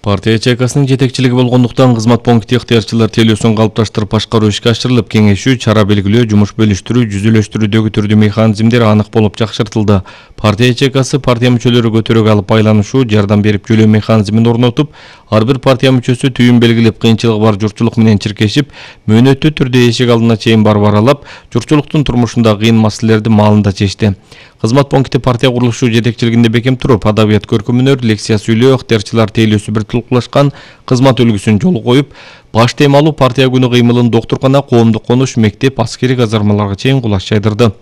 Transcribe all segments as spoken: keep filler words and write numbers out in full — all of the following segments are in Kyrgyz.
Партия ячейкасынын жетекчилиги болгондуктан кызмат пункти ыктыярчылар тейлөөсүн калыпташтырып башкаруу ишке ашырылып, кеңешүү, чара белгилөө, жумуш бөлүштүрүү, жүзүлөштүрүүдөгү түрдүү механизмдер анык болуп жакшыртылды. Партия ячейкасы партия мүчөлөрү көтөрөк алып байланышуу, жардам берип жөлөө механизмин орнотуп, ар бир партия мүчөсү түйүн белгилеп, кыйынчылыгы бар журтчулук менен чиркешип, мөөнөттүү түрдө эшик алдына чейин барып аралап, журтчулуктун турмушунда кыйын маселелерди маалында чечти. Кызмат пункти партия курулушу жетекчилигинде бекем туруп, адабият көркөмүнөр, лекция сүйлөө, ыктыярчылар тейлөөсү бир тулкулашкан кызмат үлгүсүн жолу коюп, баш темалуу партия күнү кыймылын доктуркана, коомдук конуш, мектеп, аскери казармаларга чейин кулаш жайдырды.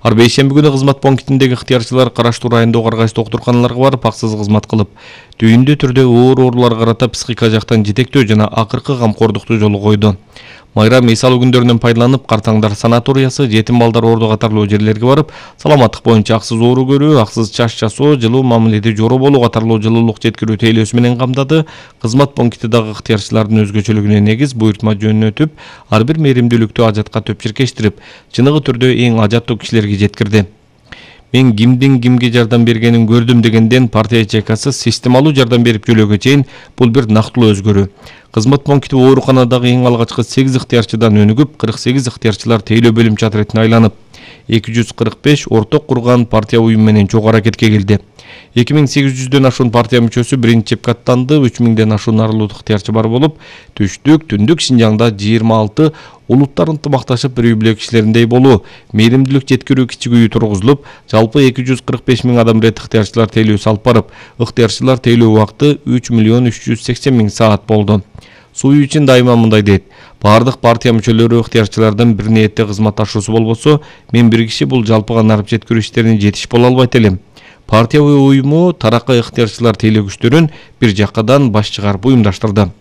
Ар бейшемби күнү кызмат пунктиндеги ыктыярчылар караштуу райондогу ар кайсы доктурканаларга барып, аксыз кызмат кылып, түйүндүү түрдө оор ооруларга карата психика жактан жетектөө жана акыркы камкордукту жолу койду. Майрам эсалуу күндөрүнөн пайдаланып, Картаңдар санаториясы, жетим балдар орду катарлуу жерлерге барып, саламаттык боюнча аксыз оору көрүү, аксыз чач жасоо, жылуу мамиледе жоро болуу катарлуу жылуулук жеткирүү тейлөөсү менен камдады. Кызмат пункти дагы ыктыярчылардын өзгөчөлүгүнө негиз буйртма жөнөтүп, ар бир мээримдүүлүктү ажатка төп чиркештирип, чыныгы түрдө эң ажаттуу кишилерге жеткирди. Мен кимдин кимге жардам бергенин көрдүм дегенден партия ячейкасы системалуу жардам берип жөлөөгө чейин бул бир нактылуу өзгөрүү. Кызмат пункти ооруканадагы эң алгачкы сегиз ыктыярчыдан өнүгүп, кырк сегиз ыктыярчылар тейлөө бөлүмчө отрядына айланып, эки жүз кырк беш орток курган партия уюм менен чогуу аракетке келди. эки миң сегиз жүздөн ашуун партия мүчөсү биринчи чепке аттанды, үч миңден ашуун аралуу ыктыярчы бар болуп, түштүк, түндүк Шинжаңда жыйырма алты улуттар ынтымакташып бир үй бүлө кишилериндей болуу, мээримдүүлүк жеткирүү кичик үйү тургузулуп, жалпы эки жүз кырк беш миң адам рет ыктыярчылар тейлөөсү алып барып, ыктыярчылар тейлөө убакыты үч миллион үч жүз сексен миң саат болду. Суу үчүн дайыма мындай дейт: бардык партия мүчөлөрү ыктыярчылардын бир ниетте кызматташуусу болбосо, мен бир киши бул жалпыга нарып жеткирүү иштерине жетиш боло албайт элем. Партия уюму тараккый ыктыярчылар тейлөө күчтөрүн бир жаккадан баш чыгарып уюмдаштырды.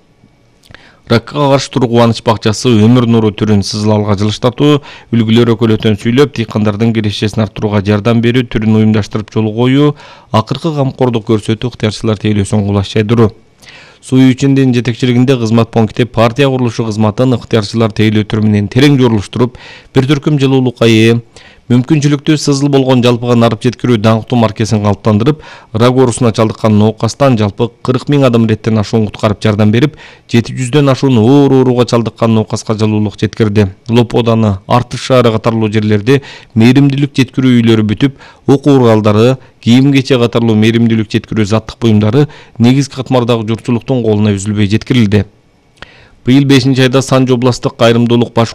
Ракка каршы туруу кубаныч бакчасы өмүр нуру түрүн сызылалга жылыштатуу, үлгүлөр өкөлөтөн сүйлөп, дыйкандардын кирешесин арттырууга жардам берүү түрүн уюмдаштырып жолу коюу, акыркы камкордук көрсөтүү ыктыярчылар тейлөөсүн кулаш жайдыруу. Суу үчүндүн жетекчилигинде кызмат пункти партия курулушу кызматын ыктыярчылар тейлөө түрү менен терең жоруштуруп, бир түркүм жылуулукка ээ, мүмкүнчүлүктүү сызыл болгон жалпыга нарып жеткирүү даңктуу маркесин калыптандырып, рак оорусуна чалдыккан ноокастан жалпы кырк миң адам реттен ашуун куткарып жардам берип, жети жүздөн ашуун оор ооруга чалдыккан ноокаска жылуулук жеткирди. Лоподаны, Артыш шаары катарлуу жерлерде мээримдүүлүк жеткирүү үйлөрү бүтүп, окуу куралдары, кийим-кече катарлуу мээримдүүлүк жеткирүү заттык буюмдары негизги катмардагы журтчулуктун колуна үзүлбөй жеткирилди. Быйыл бешинчи айда Санжы областтык кайрымдуулук баш